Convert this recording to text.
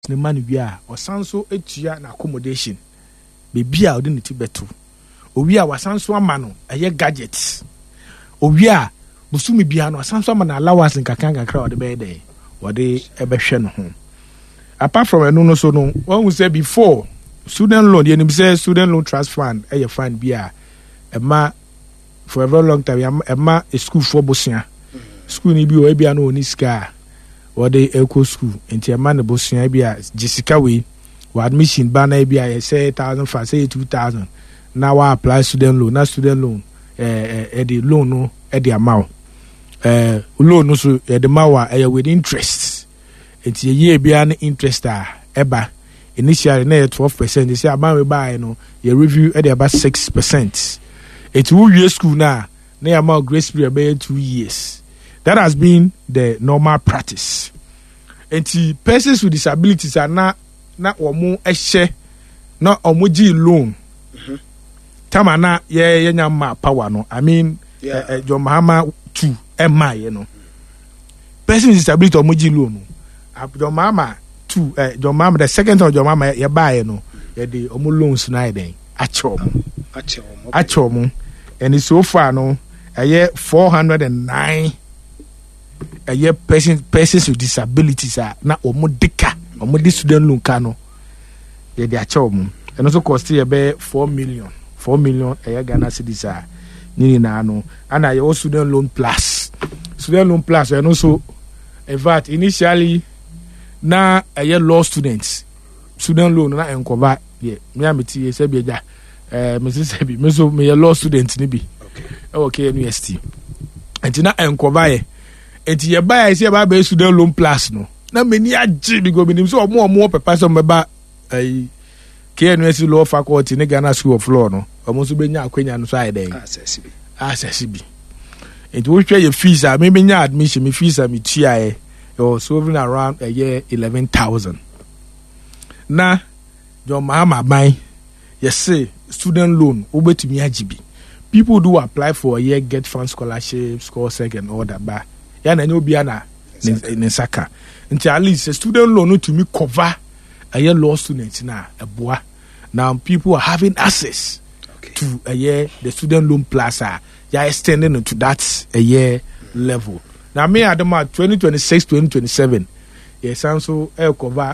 no ma no wie a, ɔsan so tua na accommodation, beebi a ɔde ne ti bɛto. Owie a, wasan so ama no ɛyɛ gadgets. Owie a, bosome biara no wasan so ama no allowance nkakra nkakra a ɔde bɛyɛ dɛn, wɔde ɛbɛhwɛ ne ho. Apart from ɛno no so no, wɔn sɛ before student loan, yɛnim sɛ Student Loan Trust Fund ɛyɛ fund bi a ɛma for a very long time ɛma sukuufoɔ bosea. Sukuu ni bi wɔ ebi a no wɔn sika a wɔde ɛkɔ sukuu, nti ɛma ne bosea bi a gye sika wei wɔ admission ba na ebi a yɛ sɛ 1,500, sɛ yɛ 2,000, na wa apply student loan, na student loan ɛde loan no ɛde ama wo. Loan no so yɛde ma wo a, ɛyɛ with interest, nti yɛyie biara ne interest a ɛba. Initially na yɛ 12%, sɛ aban wei baeɛ no, yɛ review ɛde aba 6%. Nti wowie school no a, na yɛama wo grace period bɛyɛ 2 years. That has been the normal practice. Nti persons with disabilities a na wɔn hyɛ na wɔn gye loan tama na yɛnya ma power no, I mean, John Mahama two ɛma yɛ no, person with disability wɔn gye loan no, John Mahama two, John Mahama, the second time John Mahama yɛ baayɛ no, yɛde wɔn loans no ayɛ dɛn, akyɛ wɔn. Akyɛ wɔn. Akyɛ wɔn, and so far no ɛyɛ 409 ɛyɛ persons with disabilities a na wɔn de ka, wɔn de student loan ka no, yɛde akyɛ wɔn. Ɛno nso cost yɛ bɛyɛ 4 million, 4 million ɛyɛ Ghana cedis a ne nyinaa no. Ana yɛwɔ Student Loan Plus. Student Loan Plus ɛno nso, in fact, initially na ɛyɛ law students student loan na nkɔba deɛ. Me a mete yɛ sɛ bi agya mesi sɛ bi me nso meyɛ law student ni bi ɛwɔ KNUST, nti na nkɔba yɛ. Nti yɛba yɛ sɛ yɛba abɛyɛ Student Loan Plus no, na m'ani agye because menim sɛ ɔmo a ɔmo wɔ pɛpa sɛ ɔmo bɛba ɛyi KNUST law faculty ne Ghana School of Law no, ɔmo nso bɛnya akwanya no so ayɛ dɛn, Asɛse bi. Asɛse bi. Nti wohwɛ yɛ fees a me menya admission, me fees a metuaeɛ, it was hovering around ɛyɛ 11,000. Na John Mahama aban yɛse student loan wobɛtumi agye bi. People do apply for ɛyɛ GETFund scholarship, Scholsec and all that, ba yɛn na ɛnyɛ obiara na ne nsa ka. Nti at least sɛ student loan no tumi cover ɛyɛ law students na ɛboa. Now people are having access to ɛyɛ the Student Loan Plus a yɛ extending it to that ɛyɛ level. Na me adom a, 2026 2027 yɛsan so ɛcover.